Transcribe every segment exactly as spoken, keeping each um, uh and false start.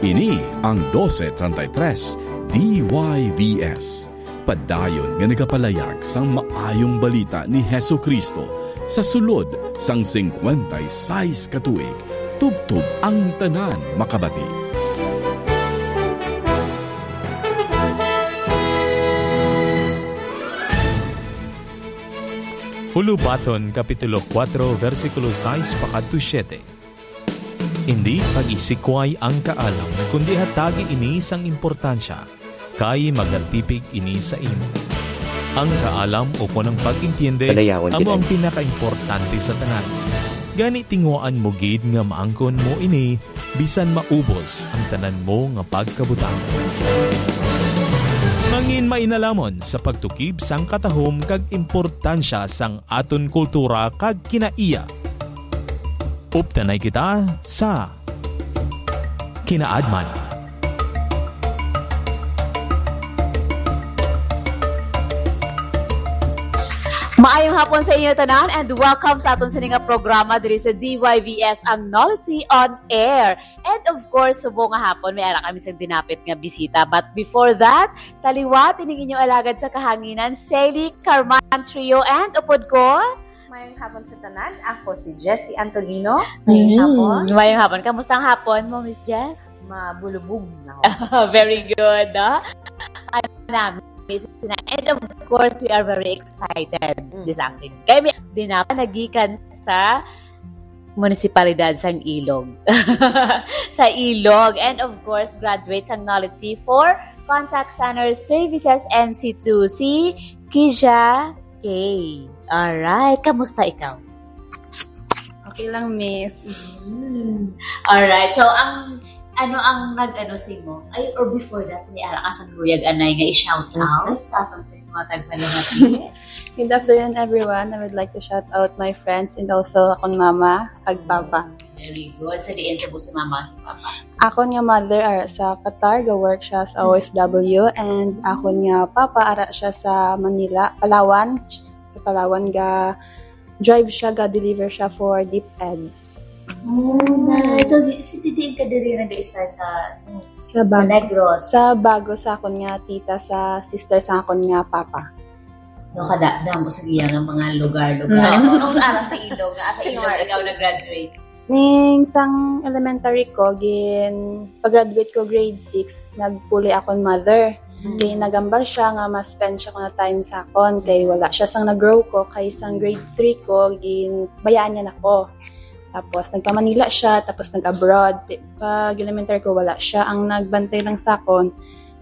Ini ang dose treinta y tres D Y V S, padayon nga nagapalayag sang maayong balita ni Jesu-Cristo sa sulod sang singkwenta y sais ka tuig, tubtob ang tanan makabati. Hulubaton, Kapitulo kuwatro, bersikulo sais pakadto siete. Indi pag-isikway ang kaalam, kundi hatagi ini sang importansya, kay magalpipig ini sa imo. Ang kaalam ukon ang pag-intiyende Palayawan amo kita ang niya. Pinakaimportante sa tanan. Gani, tinguhaan mo gid nga maangkon mo ini bisan maubos ang tanan mo nga pagkabutang. Mangin mainalamon sa pagtukib sang katahom kag importansya sang aton kultura kag kinaiya. Updanay kita sa Kinaadman. Maayong hapon sa inyo tanan and welcome sa aton sini nga programa diri sa D Y V S, ang Knowledge on Air. And of course, subong nga hapon, may ara kami sa dinapit nga bisita. But before that, sa liwat ining inyong alagad sa kahanginan, Sally Carman Trio, and upod ko, Mayong hapon sa tanan. Ako si Jessie Antolino. Mayong Mm, hapon. Mayong hapon. Kamusta ang hapon mo, Miss Jess? Mabulubog na ako. Very good, no? Ano na, Miss Jessie na. And of course, we are very excited Mm. this afternoon. Kaya may dinapa nagikan sa munisipalidad sang Ilog. Sa Ilog. And of course, graduate sang Knowledge C four, Contact Center Services N C two, si Kija K. Alright, kamusta ikaw? Okay lang, miss. Mm. Alright, so ang, ano ang nag-ano sa imo? Ay, or before that, may ara ka sa luyag anay nga i-shout out sa aton sa mga tagpalamati? Good afternoon, everyone. I would like to shout out my friends and also akon mama kag papa. Very good. Sa diin sa si mama, si papa? Akon nga mother ara sa Qatar, ga-work siya sa O F W, and akon nga papa ara siya sa Manila, Palawan. Sa Palawan, ga-drive siya, ga-deliver siya for DepEd. Oh, nice. So, si, si Titi ka diri nag-start sa, Sa sa bago. Negros? Sa bago sa akon nga tita, sa sister sa akon nga papa. No, kada, damo sa iya nga mga lugar-lugar. Mm. Ano, ano sa ara sa Ilog, nga sa Ilog ikaw nag-graduate? Ning sang elementary ko, gin, pag-graduate ko grade six, nagpuli akon mother. Mm. Kay nagambal siya nga ma-spend siya kuno time sa akon, kay wala siya sang nag-grow ko, kay sang grade three ko, gin, bayaan niya nako. Tapos nagpa-Manila siya, tapos nag-abroad. Pi-, pag elementary ko, wala siya. Ang nagbantay lang sa akon,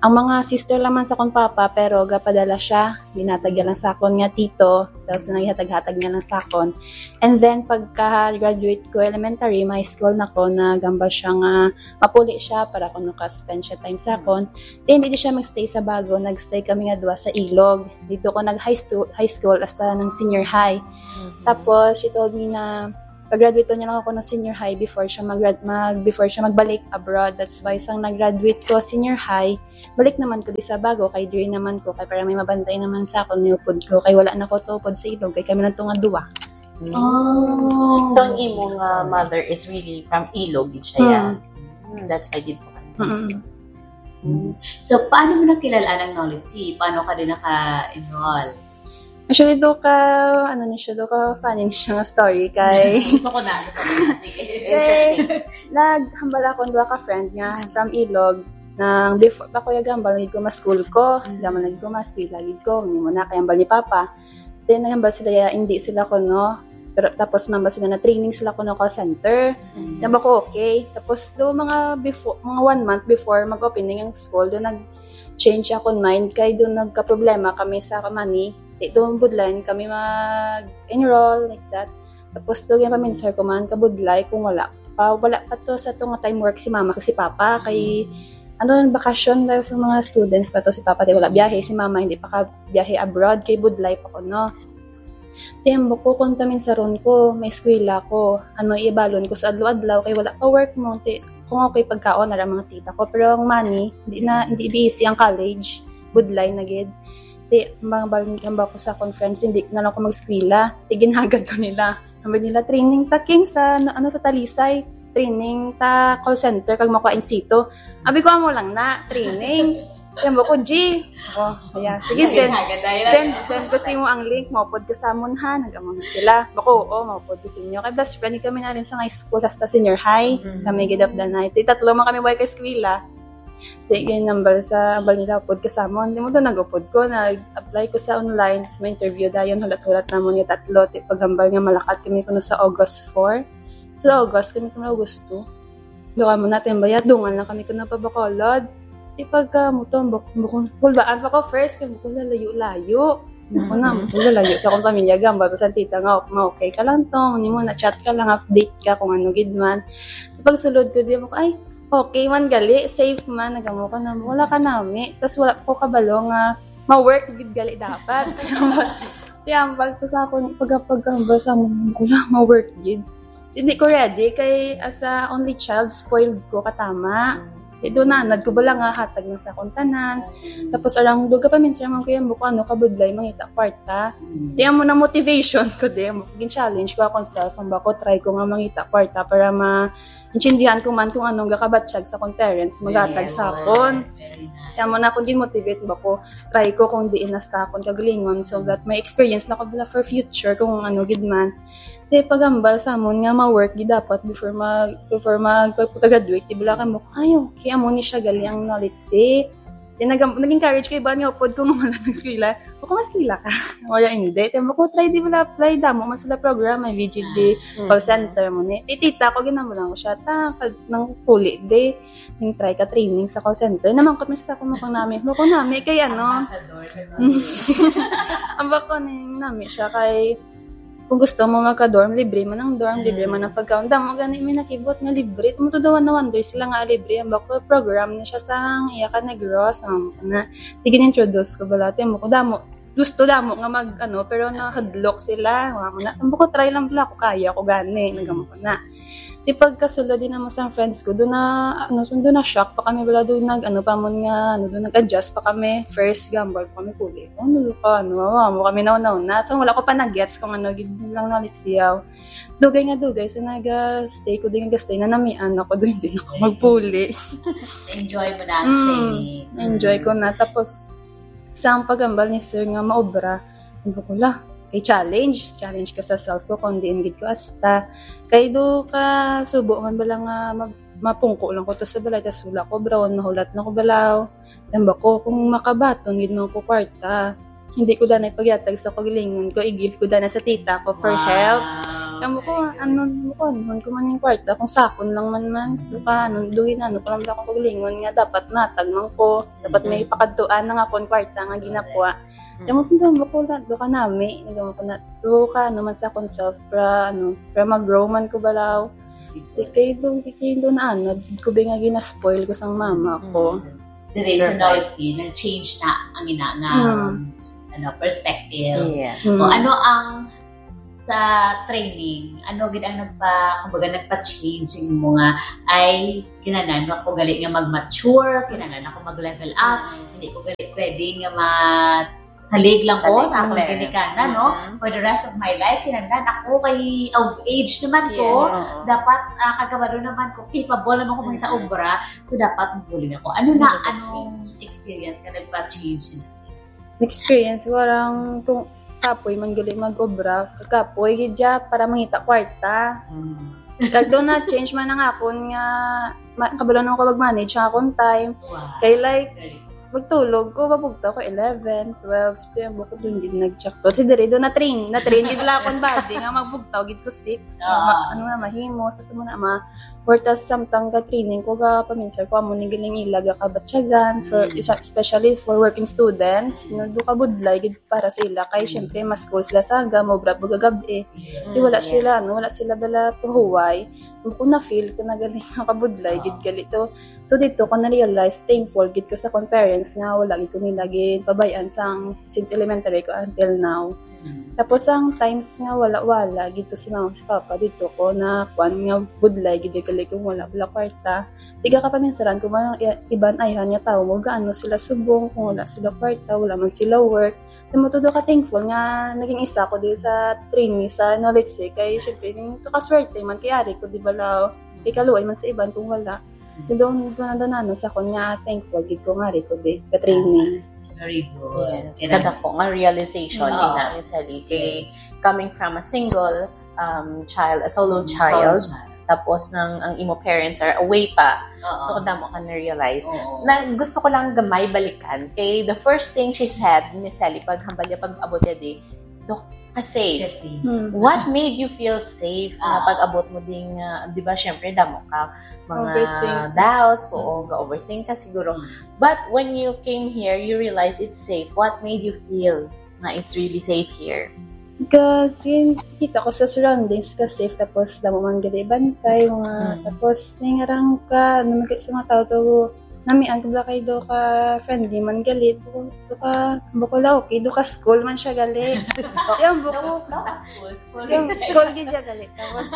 ang mga sister lang man sa akon papa, pero gapadala siya, ginhatag niya lang sa akon nga tito, tapos naghatag-hatag niya lang sa akon. And then, pagka-graduate ko elementary, may school na ko, nagambal siya nga mapuli siya para kuno ka-spend siya time sa akon. Then, hindi siya magstay sa Bago, nagstay kami nga duha sa Ilog. Dito ko nag-high stu-, high school hasta ng senior high. Mhm. Tapos, she told me na pag-graduate niya lang ako ng senior high before siya mag, mag before siya magbalik abroad. That's why sang nag-graduate ko senior high, balik naman ko di sa Bago, kay diri naman ko, kay para may mabantay naman sa akon, niupod ko, kay wala na ko tuupod sa Ilog, kay kami lang to nga duwa. Oh. So, ang imo nga mother is really from Ilog, gid siya, ya? Mm. That's why gid po kami. Mm-mm. Mm. So, paano mo nakilala ang Knowledge C? Paano ka din naka-enroll? Actually, do ka, ano ni siya, do ka funny ni siya nga story kay Gusto ko na, gusto ko na. Sige. Kay, naghambal akong duha ka friend nga from Ilog, nang before pa ko yung gambal, nagid ko mas school ko, Mm. gambal nagid ko mas pila, gid ko, hindi mo na, kay hambal ni Papa. Then, naghambal sila, ya, hindi sila ko, no? Pero tapos, mambal sila na training sila ko, no, call center. Mm. Sabi ko, okay. Tapos, do mga before, mga one month before mag-opening ang school, do nag-change akong mind, kay do nagka-problema kami sa money. Di, do budlayan kami mag-enroll, like that. Tapos, to, yung paminsar ko man, kabudlay kung wala pa, wala pa to sa to nga time work si mama kag si papa, kay, ano, bakasyon dahil sa mga students pa to, si papa, di, wala biyahe, si mama, hindi pa ka biyahe abroad, kay budlay pa ko, no? Tiyembo ko, kung paminsaron ko, may eskwela ko, ano, ibalon ko sa adlaw-adlaw, kay wala pa work mo, ti, kung okay pagkaon, ara mga tita ko, pero ang money, di na, hindi busy ang college, budlay na gid. Ti, mga balon, hambal ko sa conference, hindi na lang ko mag-eskwela, ti, ginhagad ko nila. Sabi nila, "Training ta, King, sa, ano, ano, sa Talisay." training ta call center kag makuha in situ. Abi ko, "Amo lang na, training." Kaya mo ko, "G." Oh, ayan. Sige, send, send, send ko sa imo ang link, maupod ka sa amon, ha? Nag-amon sila. Bako, oo, maupod ko sa inyo. Kay best friend kami na rin sa high school, hasta senior high. Mm. Kami gidapdan na. Iti tatlo man kami, way kay eskwela. Di kay nambal sa ambal nila, upod ka sa amon. Di mo to nag-upod ko, nag-apply ko sa online, tas may interview dayon, hulat-hulat namon nga tatlo. Ti paghambal nga malakat kami kuno sa August four. Sa August kami kuno, August two. Doon mo natin bayad, dungan lang kami kuno pa Bacolod. Di pagka mo to, buk-, bukon, kulbaan pa ko first, kay bukon lalayo-layo. Ako na, bukon lalayo sa akong pamilya, gambal ko sa tita nga, "Ma, okay ka lang to, ni mo na chat ka lang, update ka kung ano gid man." Sa pagsulod ko, di mo ko, "Ay, okay man gali, safe man." Nagamo ko na, "Wala ka nami." Tas wala ko kabalo nga ma-work gid gali dapat. Kaya ang pag sa akon, pag, pag, pag, sa amon, "Wala, ma-work gid." Hindi ko ready kay as a only child, spoiled ko katama. Kay doon na, nagkubala nga hatag lang sa akong tanan. Tapos arang doon ka pa minsan man kuya mo kung ano kabudlay mangita kwarta. Di amo na motivation ko, di amo. Gin-challenge ko akong self, ang bako, try ko nga mangita kwarta para ma-, intindihan ko man kung anong gakabatyag sa akong parents, magatag sa akon. Kaya mo na akong gin-motivate ba ko, try ko kung diin na sa akon kagalingon so that may experience na ko bala for future kung ano gid man. Te, pagambal sa amon nga ma-work gid dapat before mag, before mag, pagka-graduate, di bala kamo, "Ay, okay, amo ni siya gali ang knowledge, eh." Then, nag-, nag-encourage ko iba nga upod ko nga wala nag-eskwela. "Bako mas eskwela ka." Wala, hindi. Te, bako try, di bala apply, damo man sila program, may V G D, call center mo ni. Ti tita ko, ginamo lang ko siya, ta, pag nang puli, di, nang try ka training sa call center. Namangkot mo siya sa akong mukang nami. Bako nami, kay ano, ang bako ning nami siya, kay kung gusto mo magka-dorm, libre man ang dorm, libre man ang pagkaon. Damo gani may nakibot nga libre. Tumutudawan na wonder sila nga libre. Ang bako program na siya sa iya ka Negros. Um, na, tigin-introduce ko bala. Timo ko damo. Gusto damo nga mag, ano, pero nahadlok sila. Nga mo na, ang bako try lang bala ako. Kaya ko gani. Nagamo ko na. Di pagkasulod din naman sa friends ko, doon na, ano, so, doon na shock pa kami bala. Doon nag, ano, pa mo nga, ano, doon nag-adjust pa kami. First, gambal pa kami puli. Ano ka, ano, mama mo kami na, na, na. So, wala ko pa nag-gets kung ano, gid lang na siyaw. Dugay nga dugay, so nag-stay ko din, nag-stay na namian ako doon, hindi na ako magpuli. Enjoy mo na ang training. Enjoy ko na. Tapos, sa ang pagambal ni sir nga maobra, hindi ko la. Kay challenge, challenge ka sa self ko, kung diin gid ko asta. Kay do ka subo man bala nga mag, mapungko lang ko to sa balay, tas wala ko brown, mahulat na ko balaw. Tamba ko, kung makabaton gid mo ko kwarta, hindi ko danay pagyatag sa kagalingon ko, i-give ko danay sa tita ko for help. Kamo ko, ano mo ko, ano ko man yung kwarta, kung sakon lang man man, do ka, ano, duhin, ano, ko lang bala akong kagalingon nga dapat matag man ko, dapat may pakadtuan na nga akong kwarta nga ginakuha. Kamo ko, tamba ko, do ka nami, nagamo ko na, do ka, ano man sa akong self, pra, ano, pra mag-grow man ko balaw. Di kay do, di kay do na, ano, di ko ba nga ginaspoil ko sang mama ko. The reason now, it's nag-change na ang ina nga, um, ano, perspective. Yeah. O ano ang sa training, ano gid ang nagpa, kumbaga, nagpa-change yung mga, ay, kinahanglan ako gali nga mag-mature, kinahanglan ako mag-level up, hindi ko gali pwede nga ma-, salig lang ko sa akong ginikanan, no? For the rest of my life, kinahanglan ako kay of age naman ko, dapat, ah, kagabalo naman ko, capable naman ko mangita obra, so dapat mabuling ako. Ano na, anong experience nga nagpa-change na siya? Experience, warang kung kapoy man gali mag-obra, kapoy gid siya para mangita kwarta. Kag do na change man ang akon nga ma-, kabalo na ko mag-manage ang akon time. Kay like, magtulog ko, mabugtaw ko eleven, twelve, kaya mo ko doon din nag-check to. Si Dere, doon na-train, na-train, di bala akong body nga magbugtaw, gid ko six. So, ma-, ano nga, mahimo, sa sumuna, ma-, or tas samtang ga-training ko, ga-paminsar ko, amo ni galing ila, ga-kabatyagan, for, isa, especially for working students, no, do ka budlay, gid para sa ila, kay syempre, mas school sila sa aga, mo grab, gagab, eh. Di wala sila, ano, wala sila bala pahuway. Kung na-feel ko na galing nakabudlay, gid gali to. So dito ko na-realize, thankful gid ko sa akong parents nga wala gid ko nila ginpabayaan sang, since elementary ko until now. Tapos ang times nga wala-wala gid to si mama si papa, dito ko na kuan nga budlay gid gali kung wala, wala kwarta. Tiga ka paminsaran ko mga i-, iban ayhan nga tawo mo gaano sila subong kung wala sila kwarta, wala man sila work. Tamo todo ka thankful nga naging isa ko dito sa trainee sa Knowledge Sec. Kay syempre, yung kakaswerte man kay ari ko, di ba, law? Ikaluoy man sa iban kung wala. Doon, doon, doon, ano, sa akon nga thankful gid ko nga rin ko di ka-training. Very good. Yes. Kada ko nga realization Oo. Din namin sa Leyte. Coming from a single um, child, a solo child, tapos nang ang imo parents are away pa. Oo. So, damo ka na-realize. Oo. Na gusto ko lang gamay balikan. Kay the first thing she said, Miss Sally, pag hambal niya, pag abot niya di, "Dok, ka-safe." Kasi, Hmm. What made you feel safe na Ah. pag-abot mo ding, ah, di ba, syempre, damo ka mga Overthink. Doubts, oo, ga-overthink ka siguro. Hmm. But when you came here, you realize it's safe. What made you feel na it's really safe here? Kasi kita ko sa surroundings ka safe, tapos damo man gali bantay, mga, Mm. tapos ningarang ka, ano, mga sa mga tao to, namian ko bala kay do ka friendly man gali, do ka, do ka, bako la okay, do ka school man siya gali. Yan, bako, Daw, daw, school, school. Yung school gid siya gali. Tapos,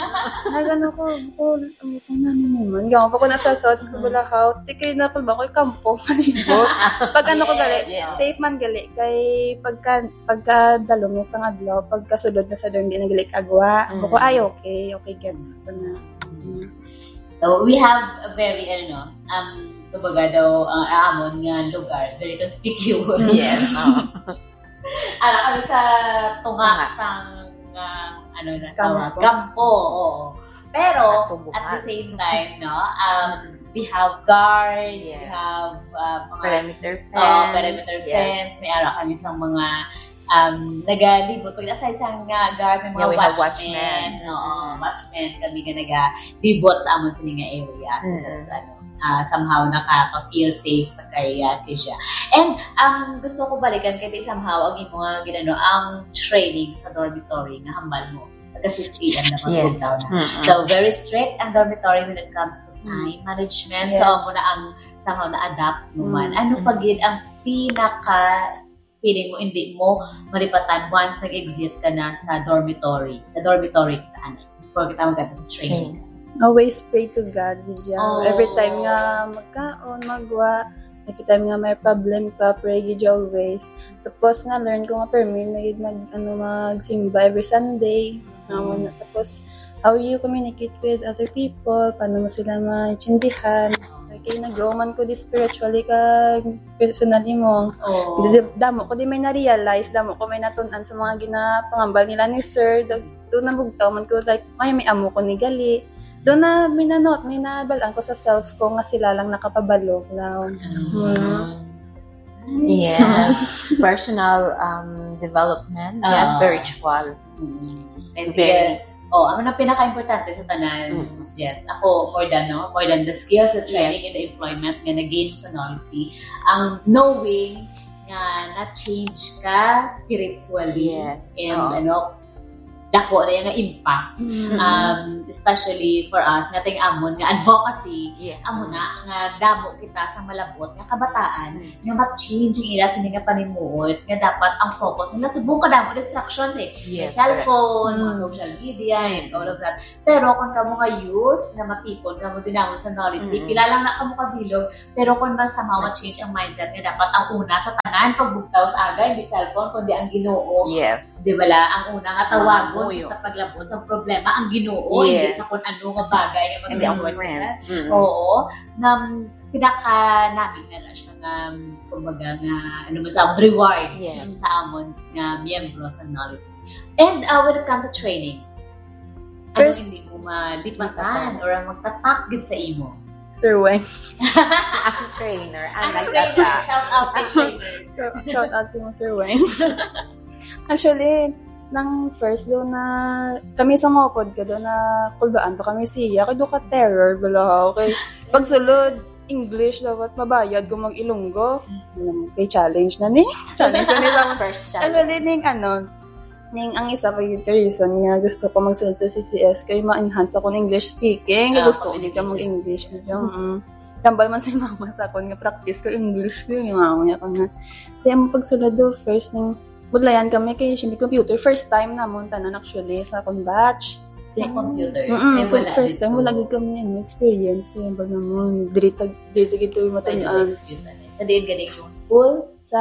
nagano ko, ko, ano ko na naman. Gawa pa ko na sa thoughts ko, bala how, tikay na ko ba ko kampo, palibot. Pag ano ko gali, Yes. Safe man gali. Kay pagka, pagka dalom na sa adlaw, pagkasulod na sa dorm, di na gali kagwa. Mm. Bako, ay, okay, okay, gets ko na. So, we have a very, ano, um, kumbaga daw, ang amon nga lugar, very conspicuous. Yes. Oo. Ara kami sa tunga Tunga. sang, ah, ano na Kampo. tawag, kampo, oo. Pero, Katubuhan. at the same time, no, um, we have guards, we Yes. have uh, mga Perimeter fence. uh, perimeter Yes. fence, may ara kami sa mga um, nagalibot. Pag aside sa nga guard, may mga Yeah, we have watchmen. Watchmen. Oo, watchmen kami nga nagalibot sa amon sini nga area. So Mm. that's ano, uh, somehow nakaka-feel safe sa kaya kaya. And um, gusto ko balikan kay somehow ang imo nga ginano ang training sa dormitory nga hambal mo. Taga six a.m. na Yes. pag-lockdown na. Mm-mm. So, very strict ang dormitory when it comes to time management. So, Yes. Amo na ang somehow na-adapt mo man. Mm. Ano pa gid ang pinaka feeling mo, hindi mo malipatan once nag-exit ka na sa dormitory? Sa dormitory, kita, ano, before kita magkita sa training. Always pray to God, gid siya. Oh. Every time nga magkaon, magwa, every time nga may problem ka, pray gid siya always. Tapos na-learn ko nga permi na gid mag, ano, magsimba every Sunday. Amo na. Tapos, how you communicate with other people, paano mo sila maintindihan. Kay nag-grow man ko di spiritually kag personally mo. Oh. Di- Damo ko di may na-realize, damo ko may natun-an sa mga ginapangambal nila ni sir. Dag- Doon nabugtaw man ko, like, may, may amo ko ni gali. Doon na minanot, may nabalaan ko sa self ko nga sila lang nakapabalo. Now, Mm. Yes. Personal um, development. Ah. Yes, spiritual. Mm. And Very. Oh, ang pinaka-importante sa tanan, Mm. yes, ako, more than, no, more than the skills, the training, Yes. and the employment nga na-gain sa Nolsi, ang knowing nga na-change ka spiritually Yes. and Oo. Ano, dako na yung impact. Mm. Um, especially for us, nga ting amon nga advocacy, Yeah. amo na nga damo kita sa malabot nga kabataan Mm. nga ma-change ang ila sini nga panimuot nga dapat ang focus nila subong kadamo distractions eh. May Yes, cellphone, mga Mm. social media, and all of that. Pero kung kamo nga youth nga matipon, kamo dinamon sa knowledge, Mm. pila lang na kamo kabilog, pero kung man somehow ma-change ang mindset nga dapat ang una sa tanan pagbugtaw sa aga, hindi cellphone, kundi ang Ginoo. Yes. Di ba la? Ang una nga tawagon Mamuyo. Sa paglabot sa problema, ang Ginoo, hindi Yes. Sa kung ano nga bagay nga Hindi ang mag-result friends. ka. Mm. Oo. Na, pinakanami na lang siya nga, kumbaga nga, ano man sa reward Yes. Sa amon nga miyembro sa knowledge. And uh, when it comes to training, ano First- hindi mo malipatan Lipatan. or ang magtatak gid sa imo? Sir Weng. Ang trainer. Ang Ang trainer, nagtata. Shout out kay trainer. So, shout out sa mga Sir Weng. Actually, nang first daw na kami sa mga pod ka daw na kulbaan pa kami siya, kay do ka terror bala, okay. Pagsulod English dapat mabayad kung mag-Ilonggo. Alam mo, kay challenge na ni. Challenge na ni sa mga First challenge. Actually, ning ano, ning ang isa pa yung reason nga gusto ko magsulod sa C C S kay ma-enhance ako ng English speaking. Kay Ah, gusto ko pag gid ka English. mag-English. Medyo, mm. Tambal man si mama sa akon nga practice ko English ko yung mama niya ko nga. Kaya mo pagsulod do first ning budlayan kami kay siyempre computer first time namon tanan actually sa akong batch. Sa computer. Mm-mm, Kaya wala first time dito. Wala gid kami ano, experience yung bag namon. Diri tag diri gid to yung Pwede matunan. excuse ano. Sa diin gani yung school? Sa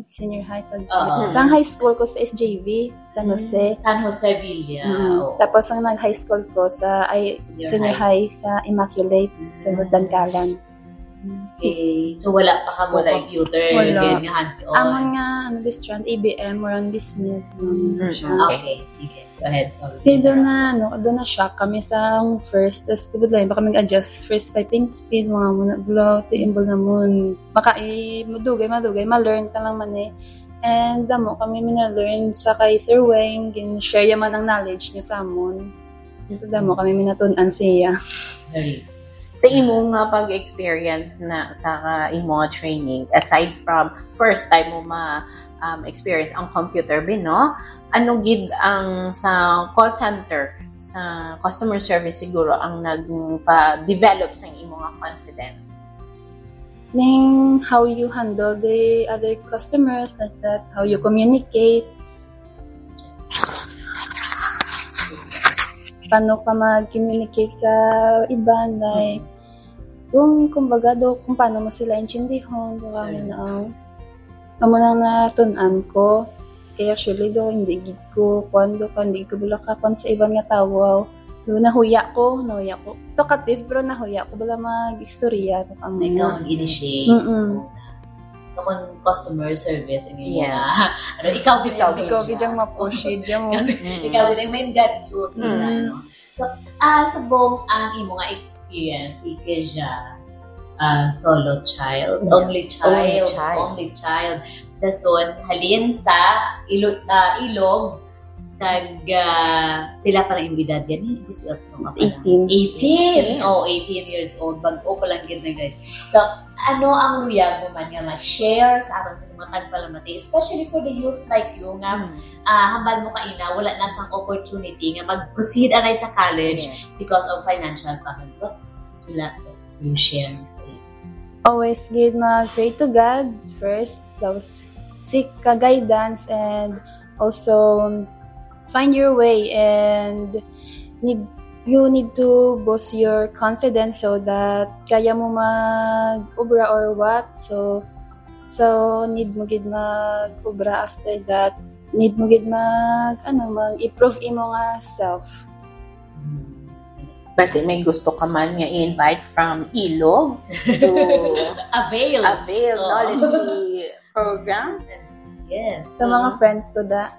senior high. Sa, Oo. Sa high school ko sa S J V, San Jose. San Jose Villa. Mm. Oo. Tapos ang nag-high school ko sa ay, Senior senior high. High sa Immaculate, sa Dankalan. Okay. So, wala pa ka mo Wala. Computer. Wala. Ganyan, hands-on. Amon nga ano, best friend, A B M, murang business. Mm, Siya. okay. Okay, sige. Go ahead, sorry. Kaya doon na, ano, doon na shock kami sa first. Tapos, tubod lang, baka mag-adjust first typing speed, mga muna blow, tiimbol na mo. Maka, eh, madugay, madugay, ma-learn ka lang man eh. And damo kami mina-learn sa kay Sir Wayne, gin-share yaman ang knowledge niya sa amon. Ito damo kami minatun-an siya. Very. Sa imo nga pag-experience na sa imo nga training, aside from first time mo ma um, experience ang computer, Bin, no? Ano gid ang sa call center, sa customer service siguro ang nagpa-develop sa imo nga confidence? Ning how you handle the other customers, like that, how you communicate. Paano ka mag-communicate sa iban, like, kung kumbaga do, kung paano mo sila intindihon, kung ano na ang amo nang natun-an ko. Kaya actually do, hindi gid ko, kuan do, hindi ko bala ka kuan sa iban nga tawo. Do, nahuya ko, nahuya ko. Talkative, pero nahuya ko bala mag-istorya. Ikaw mag-initiate. Mm-mm. Kung customer service, ang inyo Yes. na. Ano, ikaw gid Ikaw ang Ikaw gid ang mapush, dyan mo. Ikaw gid ang may dadyo sa Mm. ano. So, ah, subong ang imo nga experience, si Keja, ah, solo child, Yes, only child, only child. Only child. Dason, halin sa ilo, ah, ilog, tag, ah, pila pa na imong edad yan? Eh, eighteen ka pa lang. Eighteen. Eighteen. Oh, eighteen years old. Bag-o pa lang gid na gid. So, ano ang luyag mo man nga ma-share sa aton sa mga tagpalamati, especially for the youth like you nga ah, hambal mo kaina, wala na sang opportunity nga mag-proceed anay sa college Yes. Because of financial problem. What you la- you share sa iyo? Always gid mag-pray to God first. Tapos seek ka guidance and also find your way and need you need to boost your confidence so that kaya mo mag-obra or what. So so need mo gid mag-obra after that. Need mo gid mag ano mag-improve imo nga self. Basi may gusto ka man nga i-invite from ilog to Avail. avail Oo. knowledge programs. Yes. Sa mga friends ko da.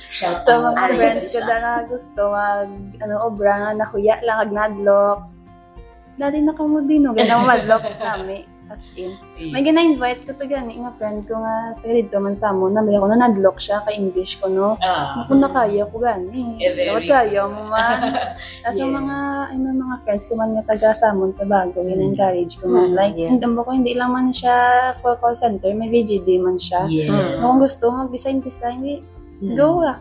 Shout Sa out. mga friends ko da nga gusto mag ano obra nga nahuya lang ag nadlok. Dali na kamo din, no? Ganang madlok kami. As in. May gina-invite ko to gani nga friend ko nga taga dito man sa amon. Nabaya ko na nadlok siya kay English ko, no? Ah. Kung nakaya ko gani. Eh, very Dapat kaya mo man. Tapos ang Yes. mga, ay, may mga friends ko man nga taga sa amon sa bago, gina-encourage ko man. Mm, Like, yes. Hindi mo ko, hindi lang man siya for call center, may V G D man siya. Yes. Mm. Kung gusto mag-design-design, di, Mm. go ah.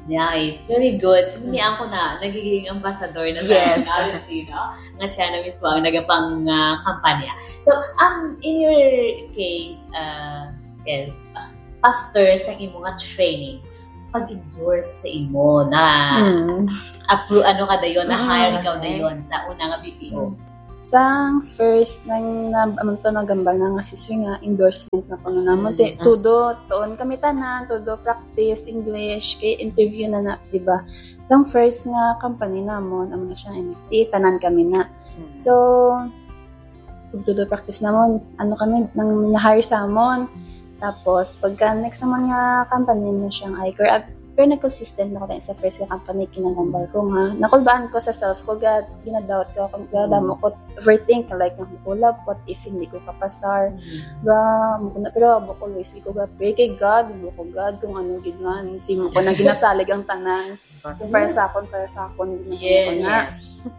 Nice. Very good. Hindi ako na, nagiging ambassador na Yes. tayo, no? Nga siya na mismo ang nagapang ah, kampanya. So, um, in your case, uh, yes, after sa imo nga training, pag-endorse sa imo na Mm. appro- ano ka dayon, na hire Mm, ikaw okay. Dayon sa una nga B P O. Sa first nang na, amun to nagambal na nga si sir nga endorsement na kuno namon. Te, Mm. Todo, tuon kami tanan, todo practice, English, kay interview na na, di ba? Ang first nga company namon, amo na siya, M S C, tanan kami na. Mm. So, kung todo practice namon, ano kami, nang na-hire sa amon. Tapos, pagka next naman nga company mo siyang Icor, ah, pero nag-consistent na ko tayo sa first nga company, kinagambal ko nga. Nakulbaan ko sa self ko, ga, ginadoubt ko, kung ga, damo ko overthink, like, ang kulab, what if hindi ko kapasar? Ga, mo ko na, pero abo ko, always ko ga, pray kay God, mo ko, God, kung ano gid man, si mo ko na ginasalig ang tanan. Kung para sa akon, para sa akon, gid mo ko Yes. na.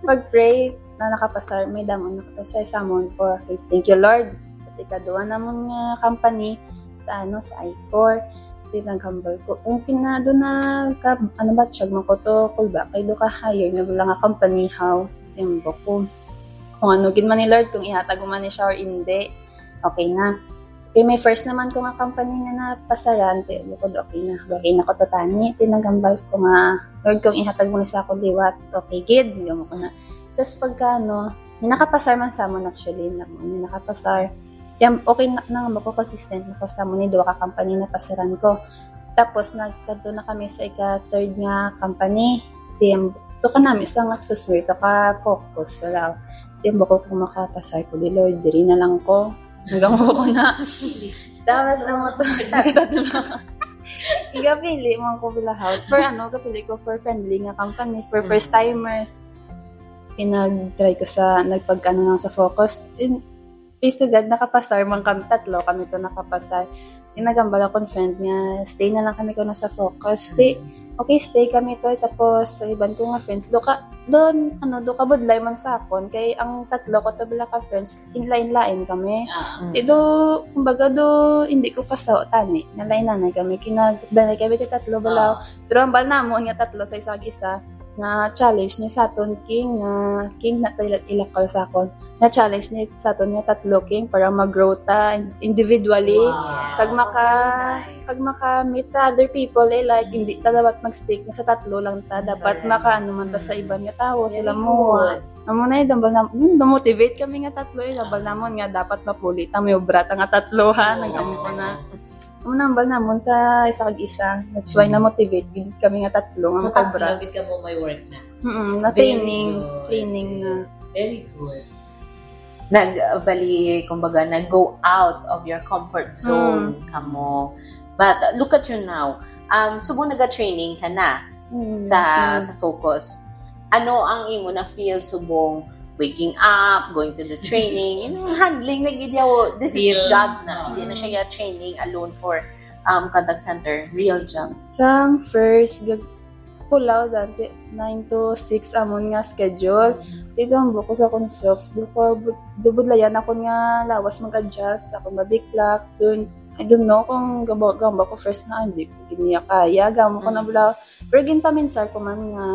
Pag-pray, na nakapasar, may damo nakapasar sa amon ko. Okay, thank you, Lord. Kasi ikaduha namon nga company sa, ano, sa Icor. Di lang kambal ko. Ang pinado na, ka, ano ba, tiyag mo ko to, kulba, kay do ka hire na wala nga company, how? Timbo ko. Kung ano, gid man ni Lord, kung ihatag mo man ni siya or hindi, okay na. Kay may first naman ko nga company na napasaran, te, bukod okay na. Okay na ko to tani, tinagambal ko nga, Lord, kung ihatag mo na sa ako liwat, okay, gid, gamo ko na. Tapos pagka, ano, Nakapasar man sa amon actually, na, na nakapasar. Kaya okay na, na nga ako, consistent na ko sa amon ni duha ka company na pasaran ko. Tapos nagkadto na kami sa ika third nga company. Di ang to ka nami sa nga customer, to ka focus, wala. Di ang ko kung makapasar ko, di Lord, diri na lang ko. Hanggang mo ko na. Tapos ang moto, igapili mo ko bilahaw. For ano, kapili ko for friendly nga company, for first timers. Pinag-try ko sa, nagpagkano na sa focus. In, praise to God, nakapasar man kami, tatlo kami to nakapasar. Ginagambal akong friend nga, stay na lang kami ko na sa focus. Stay, okay, stay kami to. Tapos, sa iban ko nga friends, do ka, doon, ano, do ka budlay man sa akon. Kay ang tatlo ko to bala ka friends, in line-line kami. Ah. Di do, kumbaga do, hindi ko kasaw tani. Nalain-lain kami, kinagdanay kami ti tatlo bala. Pero ang bal namon nga tatlo sa isag isa, nga challenge ni sa aton king, nga king na tayo ilakal sa akon. Na challenge ni sa aton nga tatlo king para mag-grow ta individually. Wow. Pag maka, Nice. pag maka-meet ta other people, eh, like, hindi ta dapat mag-stick na sa tatlo lang ta. Dapat Correct. Maka, ano man ta sa iban nga tao, sila Very mo. good. Amo na yun, dambal na, hmm, damo-motivate kami nga tatlo, eh. Dambal namon nga dapat mapuli ta, may obra ta nga tatlo, ha. Oo. Nag-amo ko na. Amo na, hambal namon sa isa kag isa. That's why na-motivate gid kami nga tatlo nga So, makobra. Tatlo gid ka mo may work na. Mm, na Very training, good. Training na. Very good. Nag, uh, bali, kumbaga, nag-go out of your comfort zone kamo. But uh, look at you now. Um, subong naga-training ka na Mm, sa yes, ma'am. Sa focus. Ano ang imo na feel subong waking up, going to the training, you know, handling na gid yaw, this is Feel, job na. uh, Hindi na siya training alone for um contact center, real job. Sang first, gag pulaw dati, nine to six amon nga schedule. Dito ang buko sa akong self. Duko, dubudlayan ako nga lawas mag-adjust. Ako madiklak. Dun, I don't know kung gamba, gamba ko first na, hindi ko gid niya kaya. Gamo ko na Mm. bulaw. Pero ginpaminsar ko man nga,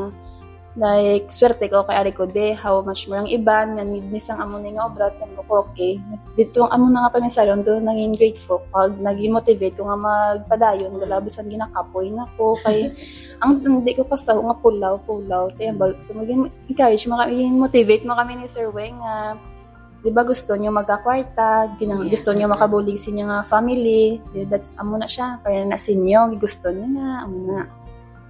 like, swerte ko kay ari ko de, how much mo ang iban, nga need ni sang amo ni nga obra, tan ko, okay. Dito ang amo na nga paminsar, doon nangin grateful, kag naging motivate ko nga magpadayon, wala bisan ginakapoy na ko, kay ang hindi ko kasaw nga pulaw, pulaw, te, ang bal-, tumagin, encourage mo kami, motivate mo kami ni Sir Weng nga, di ba gusto niyo magkakwarta, ginang, Yeah. gusto niyo makabulig sa inyo nga family, di, that's, amo na siya, kaya na sa inyo, gusto niyo na, amo na.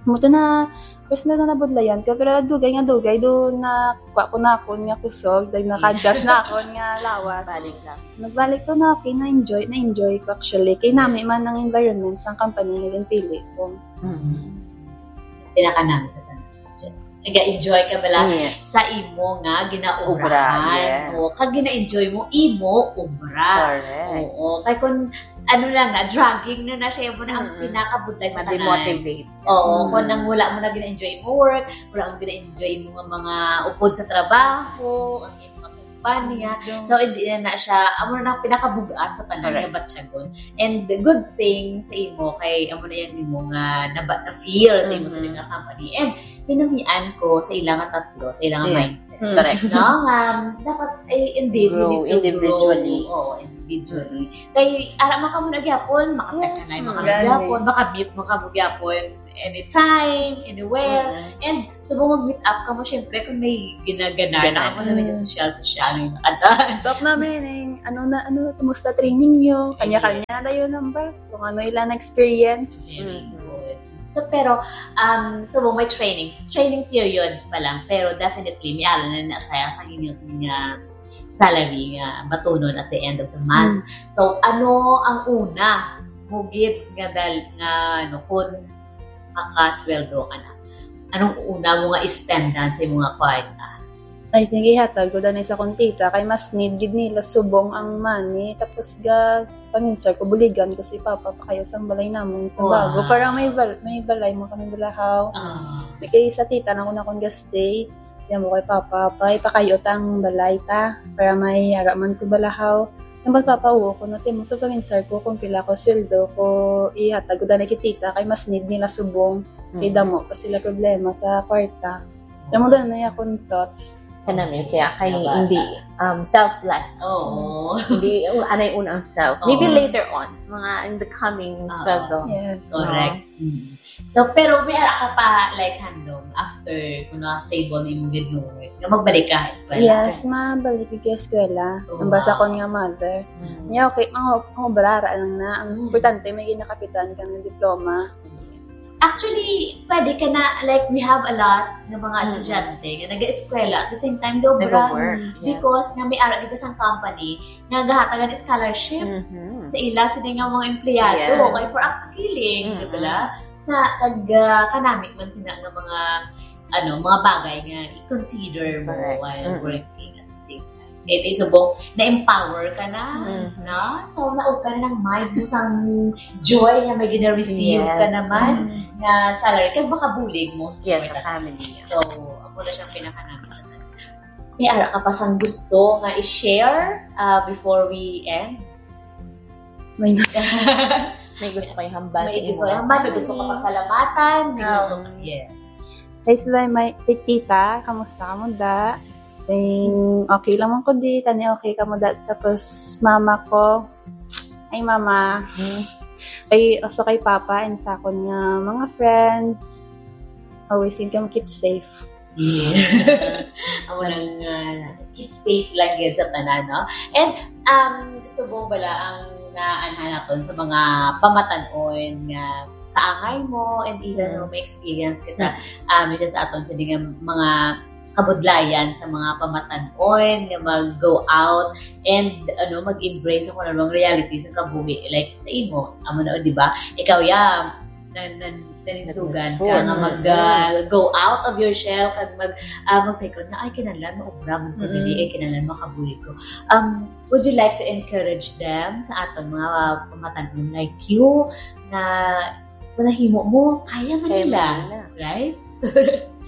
Amo to na, first na nabudlayan ko, pero dugay nga dugay, do na, kuha ko na akon nga kusog, dahil naka-adjust na akon nga lawas. Balik lang. Nagbalik ko na, okay, na-enjoy, na-enjoy ko actually. Kay nami man ang environment sa company nga ginpili ko. Pinaka namin sa tanan. Just, nag-enjoy ka bala Yeah. sa imo nga ginaobrahan. Obra, yes. O, kag gina-enjoy mo, imo obra. Correct. Oo. Kay kung ano lang na, dragging na na siya, mo na ang Mm-mm. pinakabudlay sa tanan. Ma-demotivate. Oo, Mm. kung nang wala mo na gina-enjoy mo work, wala mo gina-enjoy mo nga mga upod sa trabaho, ang imo nga kumpanya. So, hindi na na siya, amo na ang pinakabugat sa tanan Correct. nga batyagon. And the good thing sa imo, kay amo na yung imo nga naba, na-feel sa imo sa Mhm. mga company. And pinamian ko sa ilang nga tatlo, sa ilang nga Yeah. mindset. Mm. Correct, no? Um, dapat ay individual Grow individually. Oo, individually. Kay ara man kamo na gyapon, maka-text Yes, na man ma'am. kamo gyapon, maka-meet man kamo gyapon anytime, anywhere. Mm-mm. And so kung mag-meet up kamo, syempre kung may ginagana na Gana. kamo na medyo Mm. social-social yung kanta. Talk namin, eh, ano na, ano, kumusta training nyo? Kanya-kanya na yun number. Kung ano ilang experience. Very good. So, pero, um, so, may training, training period pa lang, pero definitely, may alam na na sa, sa inyo, sa inyo salary nga matunon at the end of the month. So, ano ang una mo gid nga dal, nga, ano, kung makasweldo ka na? Anong una mo nga ispendan sa imong nga kwarta? I think ihatag ko danay sa akong tita kay mas need gid nila subong ang money. Tapos ga paminsar ko, buligan ko si Papa pakayo sang balay namon sa Wow. bago. Para may bal- may balay mo kami balahaw. Ah. Kay sa tita na ko na akong ga-stay. Yan mo kay Papa, pa ipakayo ta ang balay ta para may ara man ko balahaw. Nambal Papa, uwo ko no, timo to paminsar ko kung pila ko sweldo ko ihatag ko danay kay tita kay mas need nila subong. Kay damo pa sila problema sa kwarta. Damo danay akong thoughts. Kanami siya kay hindi um, selfless. Oo. Hindi, anay una ang self. Maybe Oo. Later on, sa mga in the coming Oo. sweldo. Yes. Correct. Mm. So, pero may ara ka pa, like, handom after kung na-stable na imong gid nga work, nga magbalik ka sa eskwela? Yes, mabalik ka sa eskwela. Oh, ang basa wow. Ko nga mother. Mm. Niya, okay, ang, ang obra, ara lang na. Ang mm. Importante, may ginakapitan ka ng diploma. Actually, pwede ka na, like, we have a lot ng mga mm. Estudyante nga nag-eskwela at the same time, do obra. Nag-work, yes. Because nga may ara dito sa company, nga gahatagan scholarship mm-hmm. Sa ila sini nga mga empleyado yes. Okay for upskilling, mm-hmm. Di ba? Na kag uh, kanami man sina nga mga ano, mga bagay nga i-consider mo correct. While mm-hmm. Working at the same time. Maybe subong na-empower ka na, mm-hmm. No? So naopen na ng mind mo sang joy nga may gina-receive yes. Ka naman mm-hmm. Na salary kag makabulig most yes, important. Family. So, ako na siyang pinakanaman. May ara ka pa sang gusto nga i-share uh, before we end? May gusto. May gusto kayo hambal may sa gusto kayo hambal, may gusto ka pasalamatan, may oh. Gusto ka, yes. Hey, sila, may tita, kamusta ka mo da? Ting, okay lang man ko di, tani okay ka mo da. Tapos mama ko, ay mama. Hmm. Kay, also kay papa and sa akon nga mga friends. Always yung keep safe. Amo lang nga, keep safe lang gyud sa tanan, no? And um subong bala ang naanha naton sa mga pamatan-on nga kaangay mo and even mm. No, may experience kita mm. Um sa aton sa nga mga kabudlayan sa mga pamatan-on nga mag-go out and ano mag-embrace ako ng mga reality sa kabuhi like sa imo amo na di ba ikaw ya nan nan Nanindugan ka nga mag uh, go out of your shell kag mag uh, magtaykod na ay kinahanglan maobra man ko dili ay kinahanglan makabuhi ko. Um, would you like to encourage them sa aton mga pamatan-on like you na kung nahimo mo, kaya man nila, right?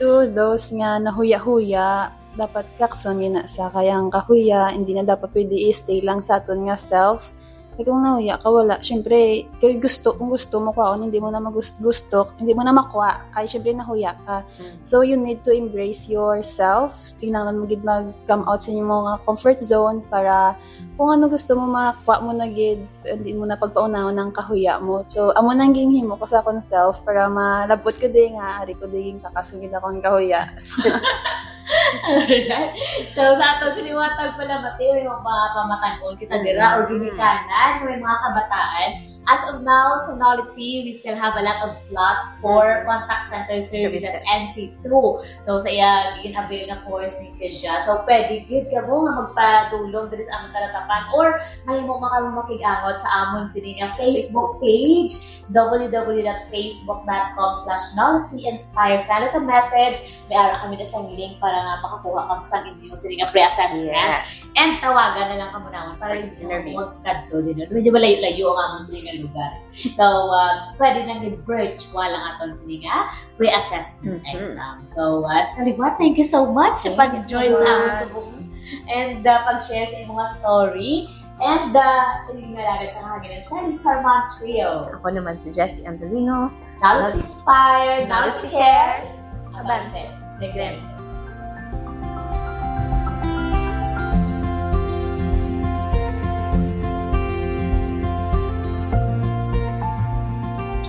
To those nga nahuya-huya, dapat kakson gina sa kayang kahuya, hindi na dapat pwede i-stay lang sa aton nga self. Kay kung nahuya ka, wala. Siyempre, kay gusto, kung gusto mo kwaon, hindi mo na magusto, hindi mo na makuha. Kay siyempre, nahuya ka. Mm. So, you need to embrace yourself. Kinahanglan mo gid mag-come out sa inyong mga comfort zone para kung ano gusto mo, makuha mo na gid. Hindi mo na pagpaunahon ang kahuya mo. So, amo nang ginhimo ko sa akong self para malabot ko di nga, ari ko di yung kakasungid akong kahuya. Alright. So, sa ato, siniwatag pala, Mateo, yung mga pamatan-on kita dira, or ginikanan, may mga kabataan. As of now, sa Knowledge C, we still have a lot of slots for contact center services Services. N C two. So, sa iya, gin-avail na course ni Kesia. So, pwede gid ka mo nga magpadulong diri sa among talatapan or mahimo man kamo makig-angot sa amon sini nga Facebook page, w w w dot facebook dot com slash knowledge inspire. Send us a message. May ara kami na sang link para nga makakuha kamo sang inyo sini nga pre-assessment. Yes. And tawagan na lang kamo naman para hindi mo magkadto din. Medyo malayo-layo ang amon sini nga lugar. So, uh, pwede lang yung virtual ang aton sini nga pre-assessment mm-hmm. Exam. So, uh, Saliwa, thank you so much sa pag-join sa amon subong and uh, pag-share sa imong story. And uh, yung nalagat sa kahaginan sa Carman Trio. Ako naman si Jessie Angelino. Knowledge inspired, knowledge cares. Abante. Neglect.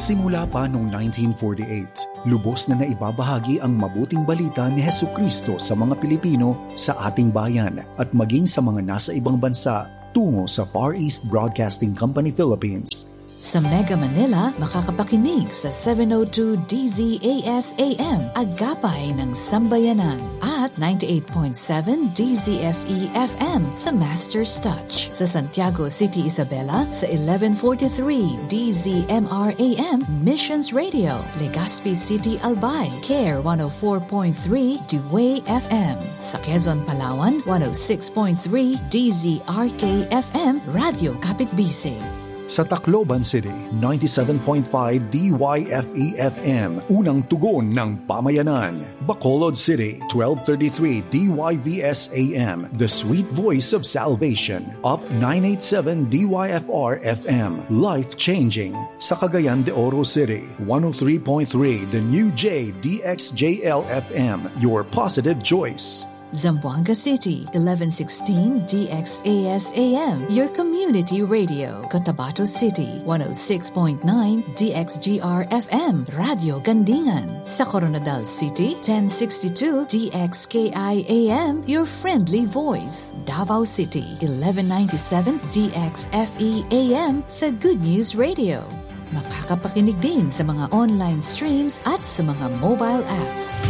Simula pa noong nineteen forty-eight, lubos na naibabahagi ang mabuting balita ni Jesucristo sa mga Pilipino sa ating bayan at maging sa mga nasa ibang bansa tungo sa Far East Broadcasting Company Philippines. Sa Mega Manila, makakapakinig sa seven oh two D Z A S A M, Agapay ng Sambayanan, at ninety-eight point seven D Z F E F M, The Master's Touch. Sa Santiago City, Isabela, sa eleven forty-three D Z M R A M, Missions Radio, Legazpi City, Albay, Care one oh four point three, Dewey F M. Sa Quezon, Palawan, one oh six point three D Z R K F M, Radyo Kapitbisig. Sa Tacloban City, ninety-seven point five D Y F E F M, Unang Tugon ng Pamayanan. Bacolod City, twelve thirty-three D Y V S A M, The Sweet Voice of Salvation. Up nine eighty-seven D Y F R F M, Life Changing. Sa Cagayan de Oro City, one oh three point three The New J D X J L F M, Your Positive Choice. Zamboanga City, eleven sixteen D X A S A M, your community radio. Cotabato City, one oh six point nine D X G R F M, Radio Gandingan. Sa Koronadal City, ten sixty-two D X K I A M, your friendly voice. Davao City, eleven ninety-seven D X F E A M, the Good News Radio. Makakapakinig din sa mga online streams at sa mga mobile apps.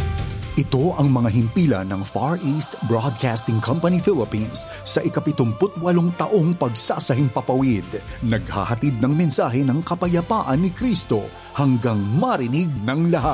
Ito ang mga himpilan ng Far East Broadcasting Company Philippines sa ika-pitungput-walong taong pagsasahimpapawid. Naghahatid ng mensahe ng kapayapaan ni Kristo hanggang marinig ng lahat.